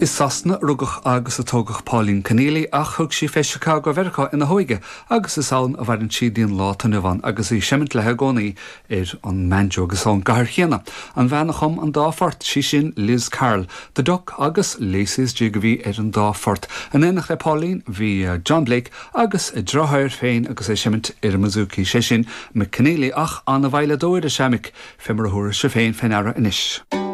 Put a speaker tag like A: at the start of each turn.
A: I Sasana a rugadh agus a tógadh Pauline Conneely ach thug sí fé Chicago Mheiriceá ina hóige agus is ann a mhaireann sí dtí'n lá atá inniu ann agus í ag seimint léi i gcónaí ar an mbanjo agus ón gcathair chéanna. An bhean a chum an dá phort, sí sin Liz Carroll, The Duck agus Lacey's Jig a bhí ar an dá phort. In éineacht le Pauline bhí John Blake agus a deartháir féin agus é ag seimint ar an mbouzouki, sé sin Mick Conneely ach an-veidhleadóir is ea Mick, fé mar a thabharfaidh sé féin fé ndeara anois.